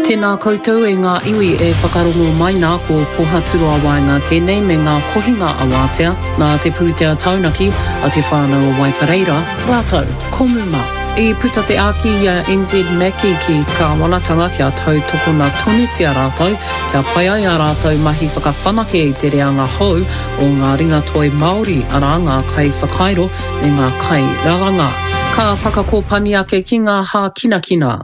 Tēnā koutou e ngā iwi e whakarongo mai nā ko Pohaturoa Waenga tēnei me ngā kohinga awātea nā te pūtea taunaki a Te Whānau o Waipareira rātou ko Muma. I puta te āki i a NZ Mackie ki te kāwanatanga kia tautokona tonutia rātou kia pai ai ā rātou mahi whakawhanake i te reanga hou o ngā ringatoi Māori arā ngā kaiwhakairo me ngā kairaranga. Ka whakakōpani ake ki ngā hākinakina.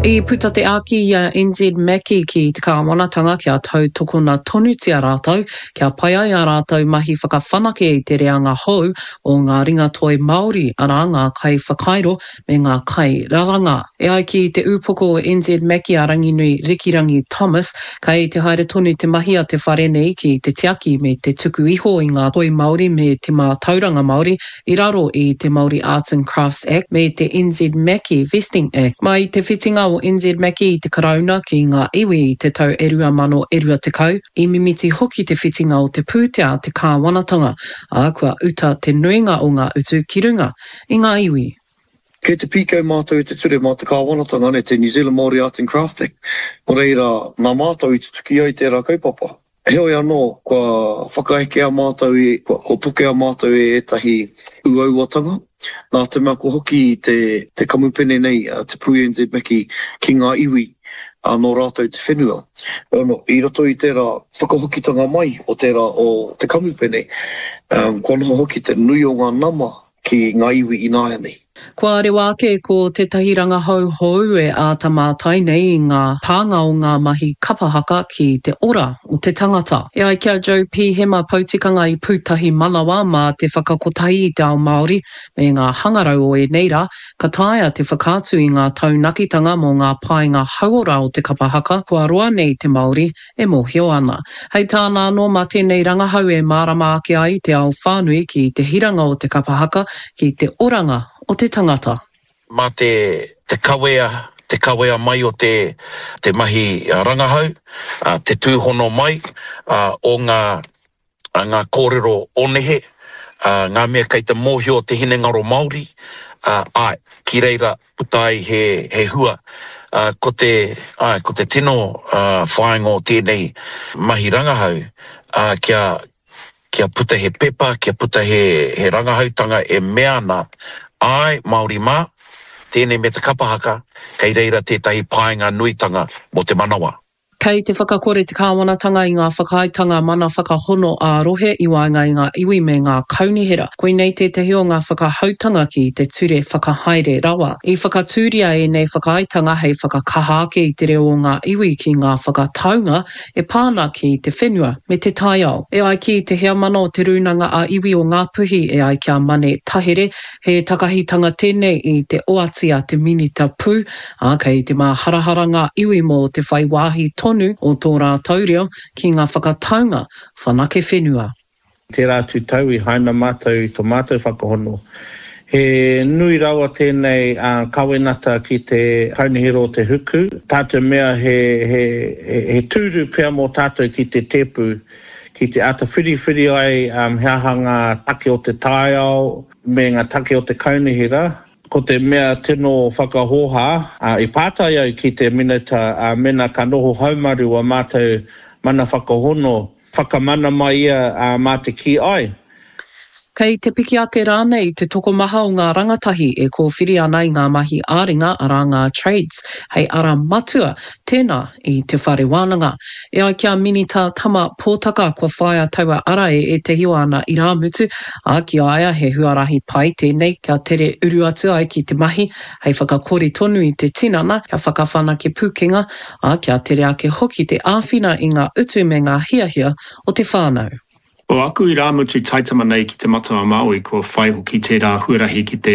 I puta te āki i a NZ Mackie ki te kāwanatanga kia tautokona tonutia rātou, kia pai ai ā rātou mahi whakawhanake i te reanga hou o ngā ringatoi Māori, arā ngā kaiwhakairo me ngā kairaranga. E ai ki te ūpoko o NZ Mackie a Ranginui Rikirangi Thomas, kei te haere tonu te mahi a te whare nei ki te tiaki me te tuku iho i ngā toi Māori me te mātauranga Māori i raro i te Māori Arts and Crafts Act me te NZ Mackie Vesting Act. Mai i te whitinga o NZ Mackie i te Karauna ki ngā iwi i te tau e 2020, i mimiti hoki te whitinga o te pūtea a te kāwanatanga, ā, kua uta te nuinga o ngā utu ki runga i ngā iwi. Kei te pīkau mātou i te ture mā te kāwanatanga, nē, te New Zealand Māori Arts and Crafts Act, nō reira, nā mātou i tutuki ai tērā kaupapa. Heoi anō, kua whakaekea mātou i, kua pokea mātou e ētahi uauatanga, nā te mea kua hoki te, te kamupene nei, te Pū NZ Mackie, ki ngā iwi, ā, nō rātou te whenua. Heoi anō, i roto i tērā whakahokitanga mai o tērā o te kamupene, kua noho hoki te nui o ngā nama ki ngā iwi ināianei. Kua rewa ake ko tētahi rangahau hou e āta mātai nei i ngā pānga o ngā mahi kapa haka ki te ora o te tangata. E ai ki a Joe Pihema Poutikanga i Pūtahi Manawa mā te whakakotahi i te ao Māori me ngā hangarau o ēnei rā, ka taea te whakaatu i ngā taunakitanga mō ngā painga hauora o te kapa haka kua roa nei te Māori e mōhio ana. Hei tāna anō, mā tēnei rangahau e mārama ake ai te ao whānui ki te hiranga o te kapa haka ki te oranga o te tangata. Mā te te kawea, te kawea mai o te te mahi rangahau, te tūhono mai o ngā ngā kōrero o nehe, ngā mea kei te mōhio te hinengaro Māori, āe, ki reira puta ai he, he hua. Ko te, āe, ko te tino whāinga o tēnei mahi rangahau, kia, kia puta he pepa, kia puta he, he rangahautanga e mea ana, āe, Māori mā, tēnei me te kapa haka, kei reira tētahi painga nuitanga mō te manawa. Kei te whakakore te kāwanatanga i ngā whakaaetanga mana whakahono ā-rohe i waenga i ngā iwi me ngā kaunihera. Koinei tētahi o ngā whakahoutanga ki te Ture Whakahaere Rawa. I whakatūria ēnei whakaaetanga hei whakakaha ake i te reo o ngā iwi ki ngā whakataunga e pā ana ki te whenua me te taiao. E ai ki te heamana o Te Rūnanga a Iwi o Ngāpuhi e ai ki a Mane Tahere, he takahitanga tēnei i te oati a te Minita Pū, ā, kei te māharahara ngā iwi mō te whai wāhi tonu o tō rātou reo ki ngā whakataunga whanake whenua. Tērā atu tau i haina mātou i to mātou whakahono. He nui rawa tēnei kawenata ki te Kaunihera o Te Huku, tā te mea he, he, he tūru pea mō tātou ki te tēpu, ki te āta whiriwhiri ai he aha ngā take o te taiao me ngā take o te kaunihera. Ko te mea tino whakahōhā, i pātai au ki te Minita mēnā ka noho haumaru wā mātou mana whakahono, whakamana mai ia mā te kī āe. Kei te piki ake rānei te tokomaha o ngā rangatahi e kōwhiri ana i ngā mahi ā-ringa, arā ngā trades, hei ara matua tēnā i te whare wānanga. E ai ki a Minita Tama Potaka kua whāia taua ara e ētahi o ana irāmutu, ā, ki a ia he huarahi pai tēnei kia tere uru atu ai ki te mahi hei whakakori tonu i te tinana, kia whakawhanake pūkenga, ā, kia tere ake hoki te āwhina i ngā utu me ngā hiahia o te whānau. Ko aku irāmutu taitama nei ki Te Matau-a-Māui kua whai hoki tērā huarahi ki te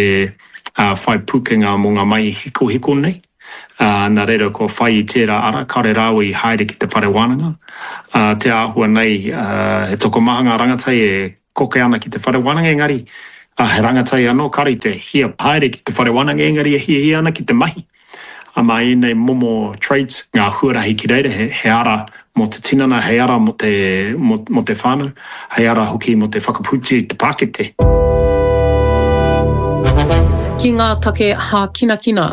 whai pūkenga mō ngā mahi hikohiko nei. Ā, nā reira kua whai i tērā ara, kāore rāua i haere ki te whare wānanga. Ā, te āhua nei, he tokomaha ngā rangatahi e koke ana ki te whare wānanga, engari, ā, he rangatahi anō kāore i te hia haere ki te whare wānanga, engari e hiahia ana ki te mahi. Ā, mā ēnei momo traits, ngā huarahi ki reira, he, he ara mō te tinana, hei ara mō te, mō, mō te whānau, hei ara hoki mō te whakapūti i te pākete. Ki ngā take hākinakina,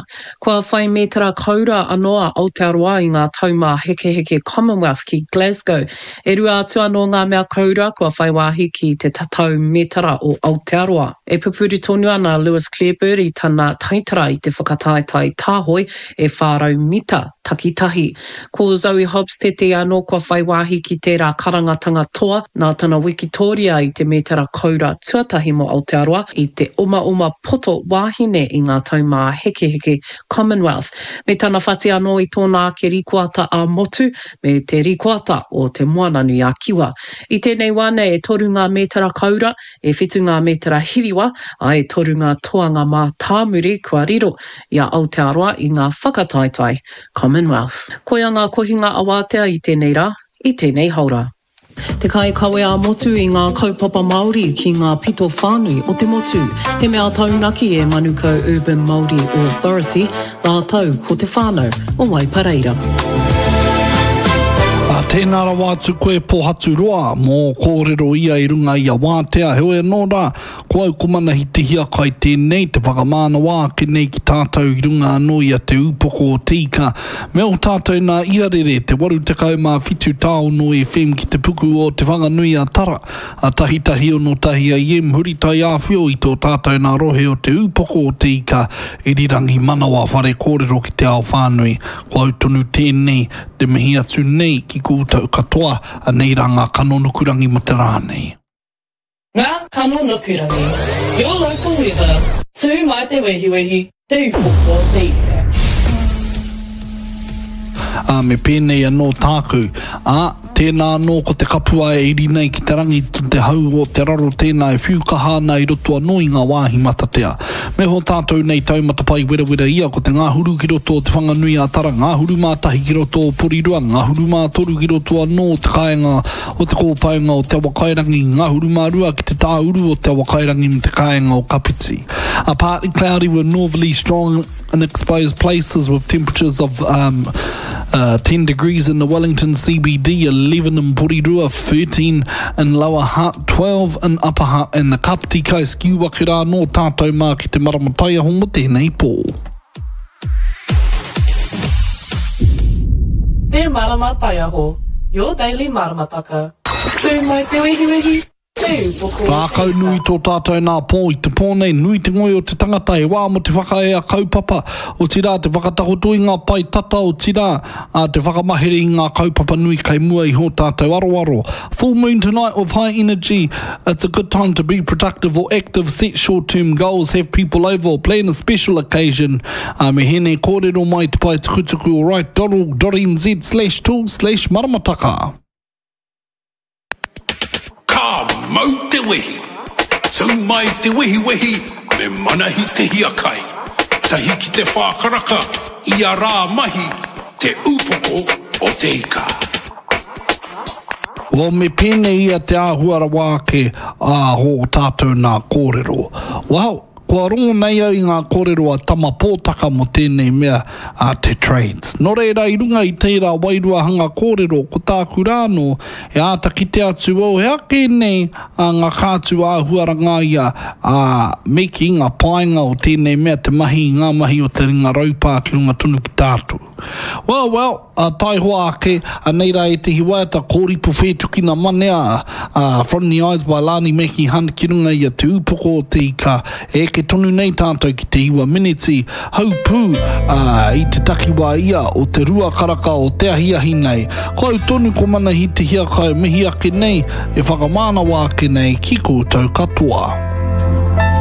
kua whai mētara koura anō a Aotearoa i ngā Taumāhekeheke Commonwealth ki Glasgow. E rua atu anō ngā mea koura kua whai wāhi ki te tatau mētara o Aotearoa. E pupuri tonu ana a Lewis Clareburt i tana taitara i te whakataetae tāhoi e 400 mita takitahi. Ko Zoe Hobbs tētehi anō kua whai wāhi ki tērā karangatanga toa, nā tana wikitōria i te mētara koura tuatahi mō Aotearoa i te omaoma poto wāhine i ngā Taumāhekeheke Commonwealth, me tana whati anō i tōna ake rikoata ā-motu me te rikoata o Te Moananui-a-Kiwa. I tēnei wā nei e toru ngā mētara koura, e whitu ngā mētara hiriwa, ā, e toru ngā toanga mātāmuri kua riro i a Aotearoa i ngā whakataetae Commonwealth. Koia ngā kohinga awātea i tēnei rā, i tēnei haora. Te kaikawe ā-motu i ngā kaupapa Māori ki ngā pito whānui o te motu. He mea taunaki e Manukau Urban Māori Authority rātou ko te whānau o Waipareira. Ā, tēnā rawa atu koe Pōhaturoa mō ō kōrero ia i runga i a Wātea, heoi anō rā, Ko au ko Manahi Te Hiakai tēnei, te whakamānawa ake nei ki tātou i runga anō i a Te Ūpoko o Te Ika, me ō tātou nā Iarere, te 87 tāono FM ki te puku o Te Whanganui a Tara, a Tahitahi ono tahi AM, huri taiāwhio i tō tātou nā rohe o Te Ūpoko o Te Ika, Irirangi Manawa Whare Kōrero ki te ao whānui. Ko au tonu tēnei, te mihi atu nei ki koutou katoa, anei rā ngā kano nukurangi mo te rā nei. Ngā kano nukurangi, Your local weather, Tū mai te wehiwehi, Te upoko o te ika. Ā, me pēnei anō tāku, ā, tēnā anō ko te kapua e iri nei ki te rangi, te hau o te raro tēnā e whiu kaha ana i roto anō i ngā wāhi matatea. Me hō tātou nei taumata pai werawera ia ko te ngahuru ki roto o Te Whanganui-a-Tara, ngahuru mā tahi ki roto o Porirua, ngahuru mā toru ki roto anō o te kāinga o te kōpaunga o Te Awakairangi, ngahuru mā rua ki te tāuru o Te Awakairangi me te kāinga o Kapiti. A partly cloudy with northerly strong in exposed places with temperatures of um, uh, 10 degrees in the Wellington CBD, 11 in Porirua, 13 in Lower Hutt, 12 in Upper Hutt and the Kapiti Coast. Ki ua ki rā nō tātou mā ki te marama taiaho mo tēnei pō. Te Marama Taiaho, your daily maramataka. Tū mai te wehiwehi, te upoko o te Rākau nui ika. tō tātou nā pō i te pō nei, nui te ngoi o te tangata, he wā mō te whakaea kaupapa, otirā te whakatakoto i ngā pae tata, otirā, ā, te whakamahere i ngā kaupapa nui kei mua i hō tātou aroaro. Full moon tonight with high energy, it's a good time to be productive or active, set short term goals, have people over or plan a special occasion. Ā, me hēnei kōrero mai te pae tukutuku o write.org.nz slash tool slash maramataka. Ka mau te wehi! Tū mai te wehiwehi me Manahi Te Hiakai. Tahi ki te whā karaka ia rā mahi Te Upoko o Te Ika. Well, me pēnei ia te āhua rawa ake ā hō tātou nā kōrero. Well, kua rongo nei au i ngā kōrero a Tama Pōtaka mō tēnei mea a te trades. Nō reira, i runga i tērā wairua hanga kōrero, ko tāku rā anō, e āta kite atu au he ake nei a ngā kātū āhuaranga ia, ā, me kī, ngā painga o tēnei mea te mahi i ngā mahi o te ringa raupā ki runga tonu ki tātou. Well, well, ā, taihoa ake, anei rā ētehi waiata, Kōripu Whētukina Manea, ā, From the Eyes by Lani Mackie Hunt ki runga i a Te Ūpoko o te Ika, e eke tonu nei tātou ki te iwa miniti, haupū, ā, i te takiwā ia o te rua karaka o te ahiahi nei. Ko au tonu ko Manahi Te Hiakai mihi ake nei, e whakamānawa ake nei ki koutou katoa.